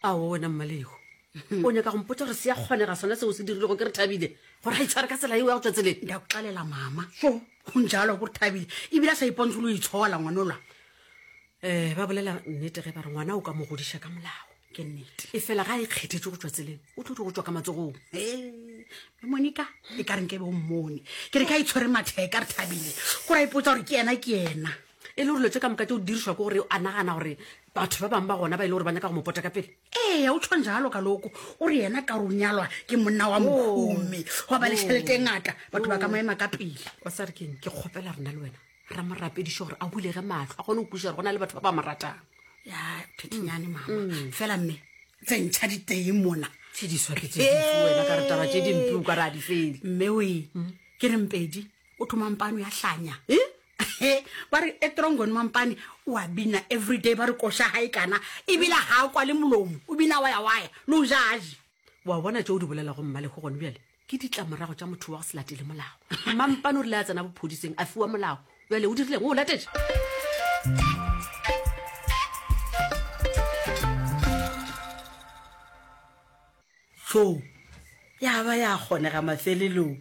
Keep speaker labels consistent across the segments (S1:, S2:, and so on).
S1: Aowa wena Mmaleko. O nyaka go mpotša gore se ya kgonega sona seo se dirilego ke Rethabile gore a itshware ka tsela yeo ya go tšwa tseleng?
S2: Ndi a go tlalela mama. So, go njalo ko Rethabile. Ebile a sa ipontšhe le go itshola ngwanola.
S1: Um ba bolela nnete ge ba re ngwana o ka mo godiša ka molao.
S2: Ke nnete.
S1: E fela ga a ikgethetše go tšwa tseleng, o tlo di go tšwa ka matsogong.
S2: Ee, mme Monica, e ka re nke be o mmone. Ke re ka itshwere matheka Rethabile, gore a ipotsa gore ke yena ke yena.
S1: E le gore dilo tše ka moka tše o di dirišwa ke gore a nagana gore batho ba bangwe ba gona ba e le gore ba nyaka go mo pota ka pele.
S2: Eya, o tšho njalo kaloko. O re yena ka gore o nyalwa ke monna wa mohumi, gwa ba le tšhelete e ngata, batho ba ka mo ema ka pele.
S1: Wa sa re keng, ke kgopela rena le wena ra mo rapediše gore a bulege mahlo, a kgone go kwešiša gore go na le batho ba ba mo ratang.
S2: Ya, thothinyane mama. Fela mme, tse ntšha diteng mona.
S1: Tše diswa ke tše dife wena ka re taba tše dimpe o ka re a di fele.
S2: Mme wee, ke re Mpedi o thoma mpano ya hlanya. Ba re etrongoni mampane o a bina everyday, ba re koša ga e kana ebile ga a kwale molomo, o bina waya waya le o ja a je.
S1: Wa bona tše o di bolelago Mmalego gone bjale ke ditlamorago tša motho wa go se latele molao. Mampane o rile a tsena bophodiseng a fiwa molao, bjale o dirileng? O o latetše?
S3: Tjo, ya ba ya kgonega mafelelong.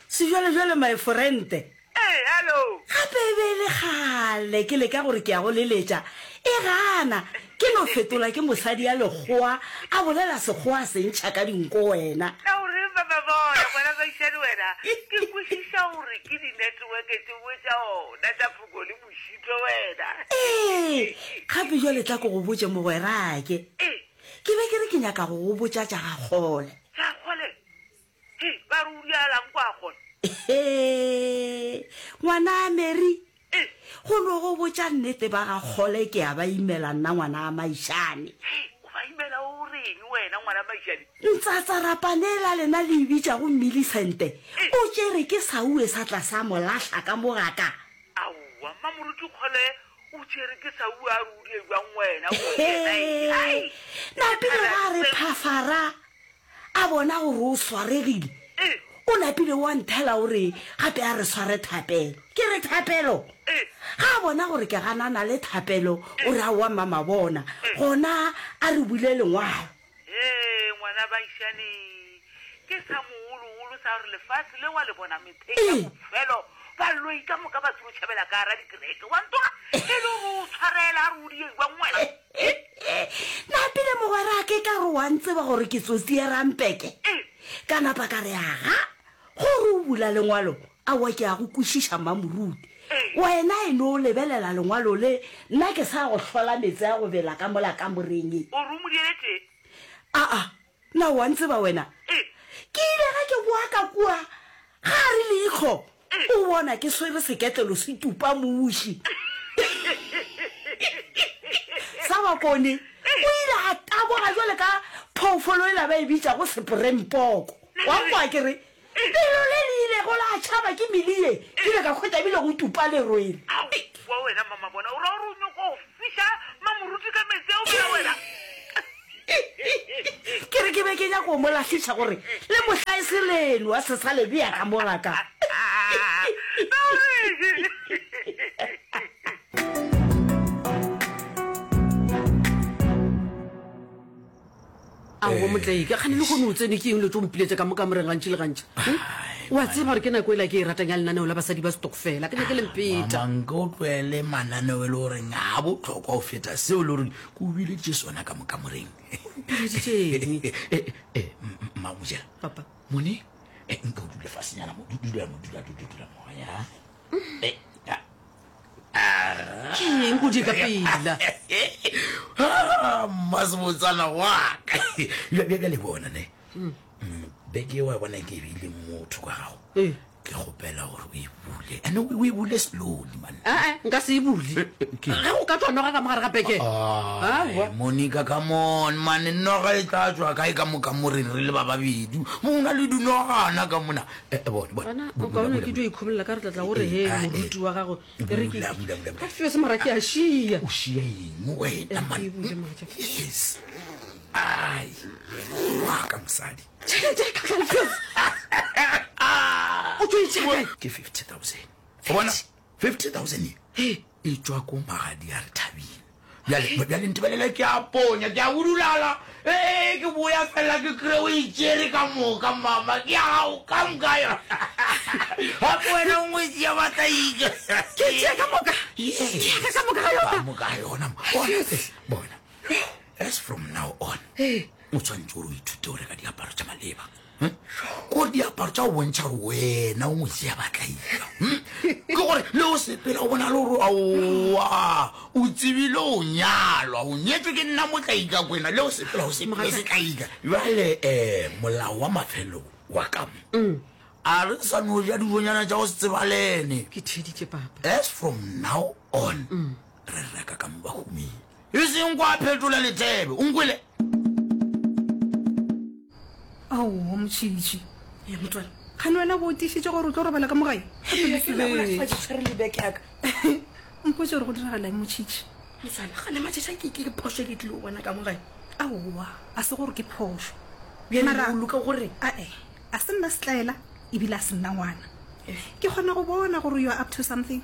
S3: Sejwalejwale my forente.
S4: Ee, hello.
S3: Gape e be e le kgale ke leka gore ke ya go leletša, e gana. Ke no fetola ke mosadi ya lekgowa a bolela sekgowa a se ntšha ka dinko wena.
S4: Na o reng ba bona ngwana Maišane wena? Ke kwešiša gore ke di-network tšeoe tša ona tša Phoko le Mošito wena.
S3: Ee, gape jwale tla ko go botše mogwerake.
S4: Ee.
S3: Ke be ke re ke nyaka go go botša tša ga Kgole.
S4: Tša Kgole? Hei, ba re o dialang kwa Kgole?
S3: Hee, ngwana Mary,
S4: Ee.
S3: go no go botša nnete ba ga Kgole ke a ba imela nna ngwana Maišane.
S4: Hei, o ba imela o reng wena ngwana Maišane?
S3: Ntsatsarapane la lena le e bitšago Millicente,
S4: Ee.
S3: o tšere ke sauwe sa tla sa mo lahla ka mo ga ka.
S4: Aowa, Mmamoruti Kgole O tšere ke sa ua re o die bjang wena o yena eng? Ai!
S3: Napile ga a re phafara a bona gore o swaregile o napile wa nthela o re gape a re sware thapelo. Ke re thapelo? Ga a bona gore ke ganana le thapelo o re aowa mmamabona gona a re bule lengwalo.
S4: Hee ngwana Baišane, ke sa mogologolo sa gore lefase le wa le bona metheng ya bofelo, baloi ka moka ba tsoro tšhabela ka gara dikereke. Wa ntoga e le gore o tshwarela a re o dieng jwang wena?
S3: Napile mogwera ke ka re wa ntseba gore ke tsotsi ya rampeke. Ka napa ka re aga gore o bula lengwalo, aowa ke a go kwešiša Mmamoruti. Wena e no lebelela lengwalo le, nna ke sa go hlola meetse a go bela ka mola kamoreng ye.
S4: O re o mo dieletše?
S3: Aa, na o a ntseba wena? Ke ile ge ke boa ka kua, ga a re leihlo, o bona ke swere seketlelo se tupa muši. Sa bakone, o ile a taboga bjale ka phoofolo yela ba e bitšago seporempoko. Wa nkwa ke re? Lelo le le ilego la tšhaba ke melie, ke ile ka hwetša bile go tupa lerwele.
S4: Aowa wena Mamabona, o ra gore o nyoko go fiša Mamoruti ka meetse ao bjale wena?
S3: Ke re ke be ke nyako mo lahliša gore le mohla e se leno a se sa le bea ka mo ga ka.
S1: Aowa Motlae, ke kgane le kgone o tsene ke eng lo tšo mpiletša ka mo kamoreng gantši le gantši? Hm? O a tseba gore ke nako ela ke e ratang ya lenaneo la basadi ba stokfela, ke nyake le mpeta.
S5: Mama, nka o tloele mananeo e le goreng a bohlokwa go feta seo e le goreng ke o bileditše sona ka mo kamoreng.
S1: Mpileditšeng?
S5: Eh, eh, Mmamojela.
S1: Papa.
S5: Mone, eh, nka o dule fasenyana mo, dula mo, dula, dula, dula mo, ya. Eh, ya.
S1: Ke eng go di ka pela?
S5: Ah, mmasebotsana wa ka. Bjale bona ne. Mm, beke wa bona ke beile motho kwa gago.
S1: Ee.
S5: Ke kgopela gore o e bule. And o e bule slowly man.
S1: Ee, nka se e bule.
S5: Eh, eh,
S1: Ge go ka tswa noga ka mogare ga beke.
S5: Aowa. Monica, come on man, noga e tla tswa kae ka mo kamoreng re le ba babedi? Mo na le dinogana ka mona. Eh, eh, bone, bone.
S1: Bana,
S5: Bu-
S1: o
S5: bula,
S1: kaone
S5: bula,
S1: ke
S5: bula.
S1: dio ikhomolela ka re tla tla gore he
S5: Eh, ah, eh.
S1: moruti wa gago e re ke
S5: Bula, bula, bula, bula.
S1: ka fio se mara ke a šia.
S5: O šia eng wena
S1: Eh,
S5: man?
S1: ke e bule mogatša.
S5: Yes. Ai, wa ka mosadi.
S1: Tšhelete ka ka fio. O tlo e tšea kae?
S5: Ke 50,000. O bona 50,000 e e tšwa ko magadi a re thabile. Bjale, bjale ntebelele ke a ponya, ke a budulala. Ee, ke boya fela ke kry o e tšere ka moka, mama. Ke ya gago ka moka yona. Gape wena o ngwetši ya batlaika.
S2: Ke tšea ka moka?
S5: Yes.
S2: Ke ya ka ka moka ga yona?
S5: Ka moka ga yona. Bona, bona. As from now on, o tshwanetse gore o ithute go reka diaparo tša maleba. Ko diaparo tša go bontšha gore wena o ngwetši ya batlaika. Ke gore le o sepela o bona le gore aowa o tsebile o nyalwa, o nyetšwe ke nna motlaika kwena, le o sepela o sepela setlaika. Bjale um molao wa mafelo wa ka mo, a re sa no ja dijonyana tša go se tsebalene.
S1: Ke theeditše papa.
S5: As from now on, re reka ka mo bahuming. E seng kwa phetola letsebe, o nkwele?
S6: Aowa, Motšhitšhi.
S7: Ee, motswala.
S6: Kgane wena bo o tiišitše gore o tlo robala ka mo gae?
S7: Ee, ke la bona fa ke tshwere le beke ya ka.
S6: Mpotše gore go diragala eng, Motšhitšhi.
S7: Motswala, gane matšatši a ke ke phošo ke tlile go bona ka mo gae?
S6: Aowa, a se gore ke phošo.
S7: Bjale
S6: Mara
S7: o loka gore?
S6: Ae, a se nna setlaela ebile a se nna ngwana. Ke kgona go bona gore you are up to something.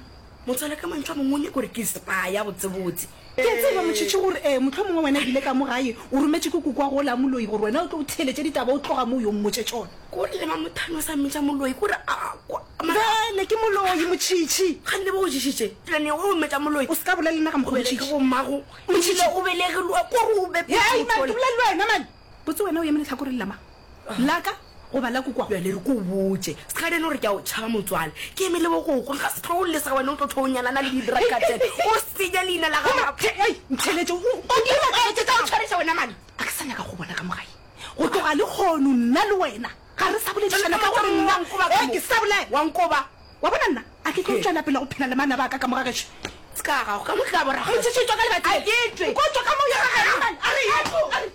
S7: Motswala, ka mantšu a mangwe o nyaka gore ke spy botsebotse.
S6: Ke a tseba, Motšhitšhi, gore ee, mohlomongwe wena ebile ka mo gae o rometše ke koko wa go la moloi gore wena o tlo o theeletše ditaba o tloga mo o yo mmotše tšona.
S7: Kore le Mamothane o sa mmitša moloi, kore a, kwa, mara.
S6: Bjale ke moloi, Motšhitšhi.
S7: Kgane le bo go ješitše plan ya go mmetša moloi.
S6: O se ka bolela le nna ka mokgwa
S7: O belege
S6: Motšhitšhi.
S7: go mmago,
S6: Motšhitšhi.
S7: ebile o belegilwe, kore o be
S6: Hei, man,
S7: motho
S6: ke bolela le wena, man. Botse wena o eme lehlakoreng la mang? La ka goba la kokwago?
S7: Bjale re ko botše, se ka dena gore ke a o tšhaba motswala. Ke eme le bokoko, nka se tlo o lesa wena o tlo tho o nyalana le di-drug-cartel. O senya leina la gago.
S6: Hei, ntheeletše, o, o dira tše tša go tshwariša wena man. A ke sa nyaka go bona ka mo gae. Go tloga lehono nna le wena ga re sa boledišana ka gore nna, ee, ke sa bolela.
S7: Wa nkoba.
S6: Wa bona nna a ke tlo tšwela pele go phela le manaba a ka ka mo ga gešo.
S7: Se ka gago, ka mo tla borago.
S6: Motšhitšhi, tšwa ka lebating.
S7: A ke tšwe.
S6: Ko tšwa ka mo ya ga geno man. A re ye. A re.